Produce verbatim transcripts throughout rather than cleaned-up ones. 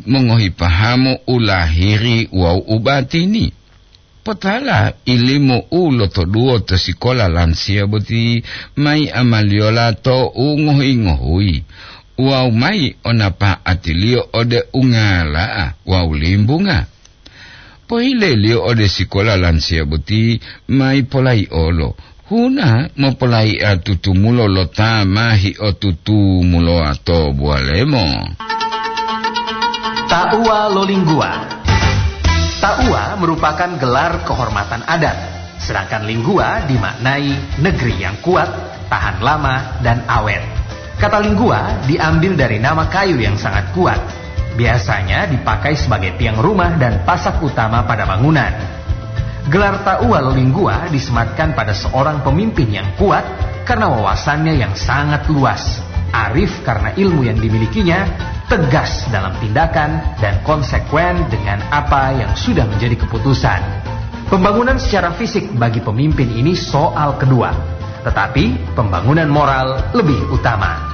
mongohi pahamu u lahiri wawu u batini. Potala ilimu u lotoduwo to sikola lansiya boti mayi amaliyola to u ngohi-ngohuyi wawu mayi o napa'atiliyo ode ungala'a wawu limbunga. Pohileliyo ode sikola lansiya boti mayi polayi'olo, huna mopolayi'a tutumulo lo ta ma hiotutumulowa to buwalemo. Tauwa lo Lingguwa. Tauwa merupakan gelar kehormatan adat, sedangkan Lingguwa dimaknai negeri yang kuat, tahan lama, dan awet. Kata Lingguwa diambil dari nama kayu yang sangat kuat. Biasanya dipakai sebagai tiang rumah dan pasak utama pada bangunan. Gelar Tauwa lo Lingguwa disematkan pada seorang pemimpin yang kuat karena wawasannya yang sangat luas, arif karena ilmu yang dimilikinya, tegas dalam tindakan, dan konsekuen dengan apa yang sudah menjadi keputusan. Pembangunan secara fisik bagi pemimpin ini soal kedua, tetapi pembangunan moral lebih utama.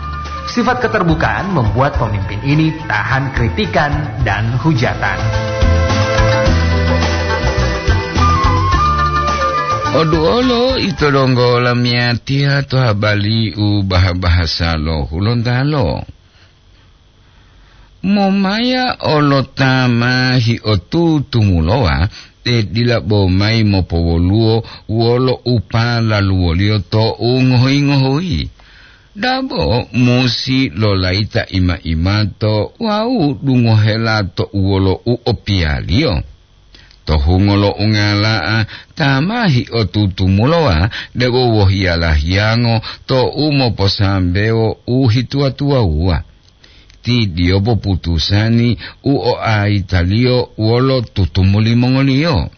Sifat keterbukaan membuat pemimpin ini tahan kritikan dan hujatan. Oduolo ito donggo lamiyatiya to habari u baha-bahasa lo Hulontalo. Momaya olo ta ma hiotutumulowa, te dila bo mayi mopowoluwo wolo u palaluwoliyo to u ngohi-ngohuyi. Dabo musi lolayita ima-imato wawu dungohela to uwolo u opiyaliyo. To hungo lo ungala'a ta ma hiotutumulowa debo wohiyala hiyango to u moposambewo u hituwa-tuwawuwa. Ti diyo poputusani u oaitaliyo wolo tutumu limongoliyo.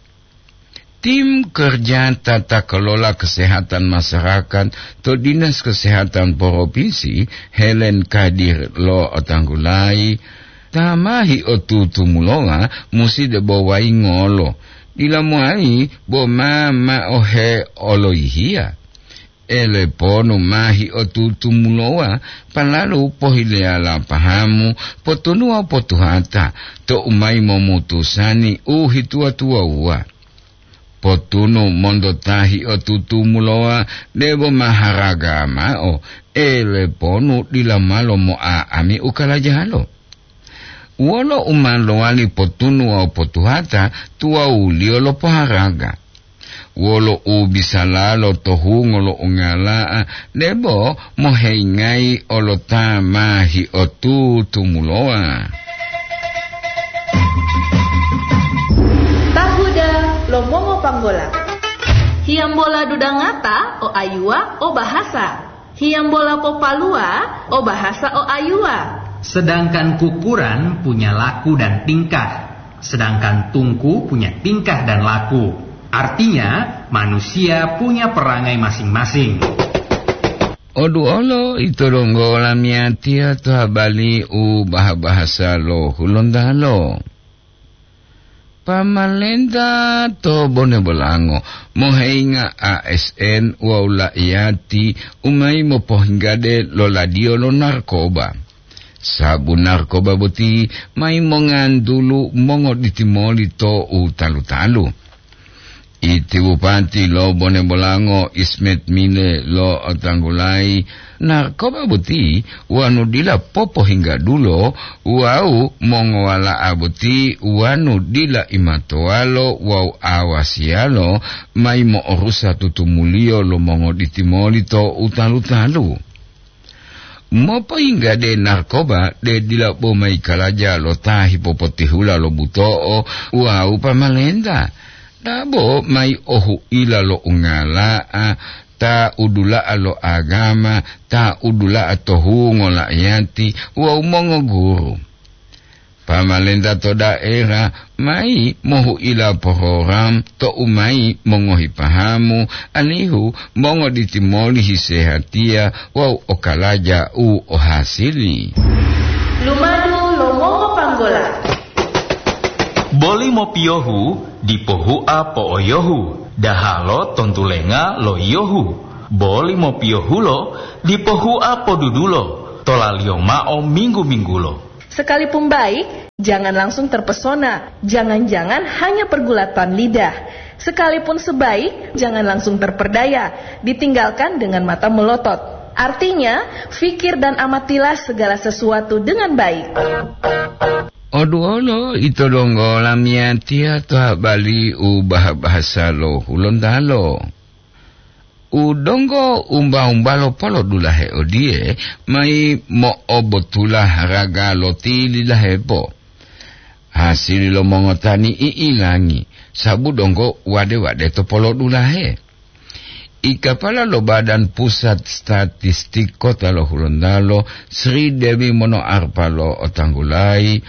Tim kerja tata kelola kesehatan masyarakat to Dinas Kesehatan Provinsi, Helen Kadir, lo'otanggulayi, ta ma hiotutumulowa musi debo wayingolo, dila mowali bo ma ma'ohe oloyihiya. Eleponu ma hiotutumulowa, palalu pohileyala pahamu, potunuwa potuhata, to u mayi momutusani u hituwa-tuwawuwa. Potunu monto ta hiotutumulowa debo maharaga mao, eleponu dila malo mo'a'ami u kalajalo. Wolo u ma lowali potunu wawu potuhata tuwawuliyo lo poharaga? Wolo u bisalalo to hungo lo ungala'a debo moheyingayi olo ta ma hiotutumulowa? Tahuda lo mongopanggola. Hiyambola dudangata o ayuwa o bahasa. Hiyambola popaluwa o bahasa o ayuwa. Sedangkan kukuran punya laku dan tingkah, sedangkan tungku punya tingkah dan laku. Artinya, manusia punya perangai masing-masing. Oduolo ito donggo lamiyatiya to habari u baha-bahasa lo Hulontalo. Pamalenta to Bone Bolango moheyinga A S N wawu la'iyati u mayi mopohinggade lo ladiyo lo narkoba. Sabu narkoba boti mayi mongantulu mongoditimoli to u talu-talu. Iti bupati lo Bone Bolango, Ismet Mile, lo'otanggulayi narkoba boti wonu dila popohinggadulo wawu mongowala'a boti wonu dila imatowalo wawu awasiyalo mayi mo'orusa tutumuliyo lo mongoditimoli to u talu-talu. Mopoyinggade narkoba de dila bo mayi kalaja lo ta hipopotihula lo buto'o wawu pamalenta. Dabo mayi ohuila lo ungala'a, ta udula'a lo agama, ta udula'a to hungo la'iyati wawu mongoguru. Pamalenta to daera mayi mohuila porogram to u mayi mongohi pahamu, alihu mongoditimoli hisehatiya wawu okalaja u ohasili. Lumadu lo mongopanggola. Boli mopiyohu dipo hua po'oyohu, dahalo tontulenga lo yiyohu. Boli mopiyohulo dipo hua podudulo, tolaliyo mao minggu-minggulo. Sekalipun baik, jangan langsung terpesona. Jangan-jangan hanya pergulatan lidah. Sekalipun sebaik, jangan langsung terperdaya. Ditinggalkan dengan mata melotot. Artinya, fikir dan amatilah segala sesuatu dengan baik. Oduolo ito donggo lamiyatiya to habari u baha-bahasa lo Hulontalo. U donggo umba-umbalo polodulahe odiye, mayi mo'obotula haraga lo tilidahepo. Hasili lo mongotani i'ilangi, sabu donggo wade-wade to polodulahe. Ikapala lo Badan Pusat Statistik Kota lo Hulontalo, Sri Dewi Monoarpa lo otanggulayi,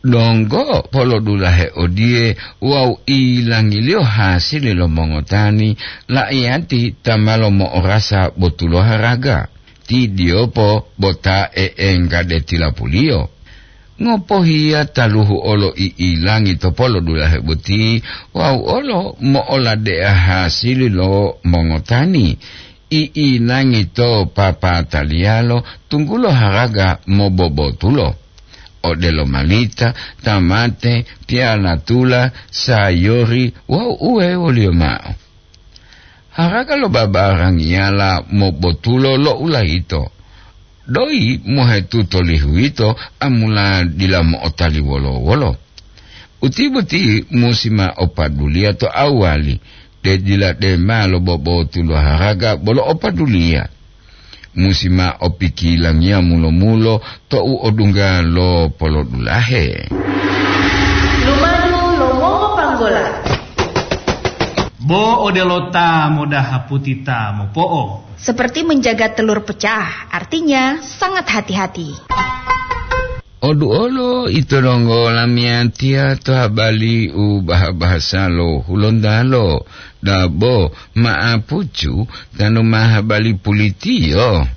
donggo polodulahe odiye wawu ilangiliyo hasili lo mongotani, la'iyati ta ma lomo'orasa botulo haraga. Ti diyopo bota e'engga de tilapuliyo. Ngopohiya taluhu olo i'ilangi to polodulahe boti wawu olo mo'oladea hasili lo mongotani. I'ilangi to papataliyalo tunggulo haraga mobobotulo, odelo malita, tamate, piyalatula, sayori wawu uwewoliyo mao. Haraga lo babarangiyala mobotulo lo ulayito. Doyi mohetuto lihuwito amula dila mo'otali wolo-wolo. Uti boti musi ma opaduliya to awali, de dila dema lo bobotulo haraga bolo opaduliya. Musi ma opikilangiya mulo-mulo tou odungga lo polodulahe. Lumadu lo mongopanggola. Bo odelo ta modaha puti ta mopo'o. Seperti menjaga telur pecah, artinya sangat hati-hati. Oduolo ito donggo lamiyatiya to habali u baha-bahasa lo Hulontalo, dabo ma'apucu tanu ma habali pulitiyo.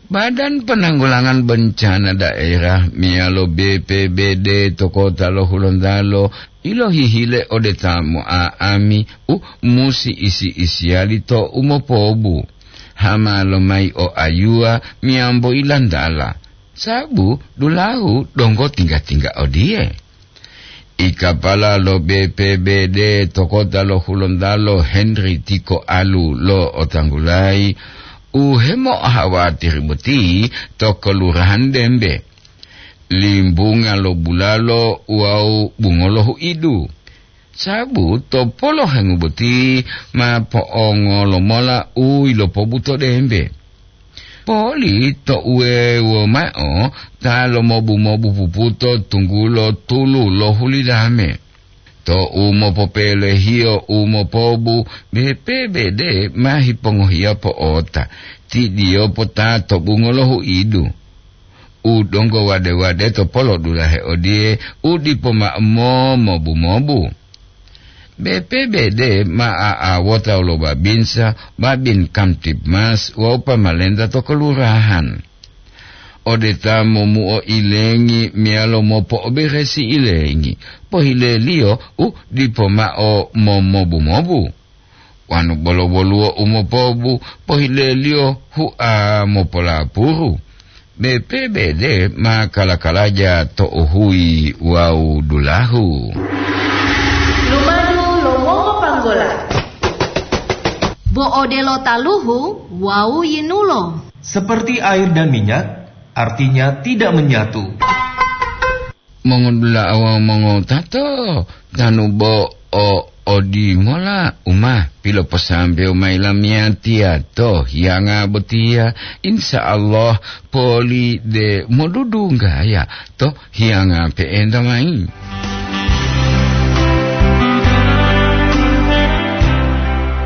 Badan Penanggulangan Bencana Daerah meyalo B P B D to kota lo Hulontalo ilohihile ode ta mo'a'ami u musi isi-isiyali to umopobu, hama lomayi o ayuwa meyambo ilantala, sabu dulahu donggo tingga-tingga odiye. Ikapala lo B P B D to kota lo Hulontalo Henry Tiko Alu lo otanggulayi u hemo'ahawatiri boti to Kelurahan Dembe, Limbunga lo Bulalo wawu Bungolo Huidu. Sabu to polohengu boti ma po'ongolo mola u yilopobuto Dembe. Poli to uwewo mao ta lomobu-mobu puputo tunggulo tulu lo hulidame. To u mopopelehiyo u mopobu, B P B D ma hipongohiya po'ota, ti diyopo ta to Bungolo Huidu. U donggo wade-wade to polodulahe odiye u dipo mao momobu-mobu. B P B D ma a'awota lo babinsa, babin Kamtibmas wawu pamalenta to kelurahan. Ode ta momuo ilengi meyalo mopo'oberesi ilengi, pohileliyo u dipo mao momobu-mobu. Wanu bolo woluwo u mopobu, pohileliyo hua mopolapuru. B P B D ma kala-kalaja to uhuyi wawu dulahu. Lumadu lo mongopanggola. Bo odelo taluhu wawu yinulo. Seperti air dan minyak, artinya tidak menyatu. Mongodula'a wawu mongotato, tanu bo o odimola u ma piloposambewo mayi lamiyatiya to hiyanga botiya, insya Allah poli de modudunggaya to hiyanga pe'enta mayi.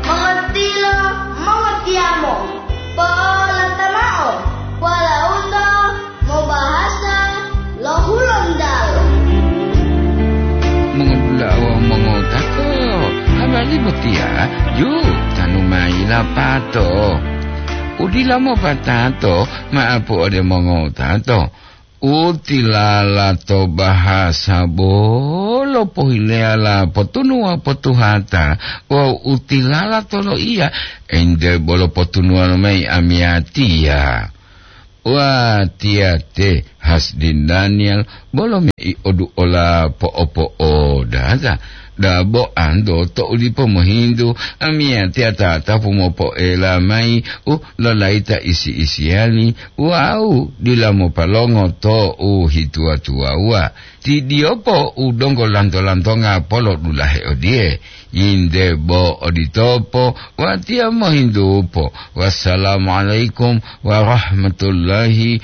Mongotilo, mongotiyamo, po'olata mao, walauta mobahasa lo Hulontalo. Mongodula'a wawu mongotato, habari botiya ju tanu mayi lapato. Udila mopatato ma'apu ode mongotato. U tilala to bahasa bolo pohileyala potunuwa potuhata wawu u tilala to loiya ente bolo potunuwa lomayi amiyatiya. Watiya te Hasdin Daniel, bolo mei oduola po'opo'o dada, dabo ando to ulipo mohintu, amiyatiya tatapu mopo'ela mayi u lolaita isi-isiyani, wawu dila mopalongo to u hituwa-tuwawuwa. Ti diyopo u donggo lanto-lantonga polodulahe odiye, yinde bo oditopo, watiya mohintupo. Wassalamualaikum warahmatullahi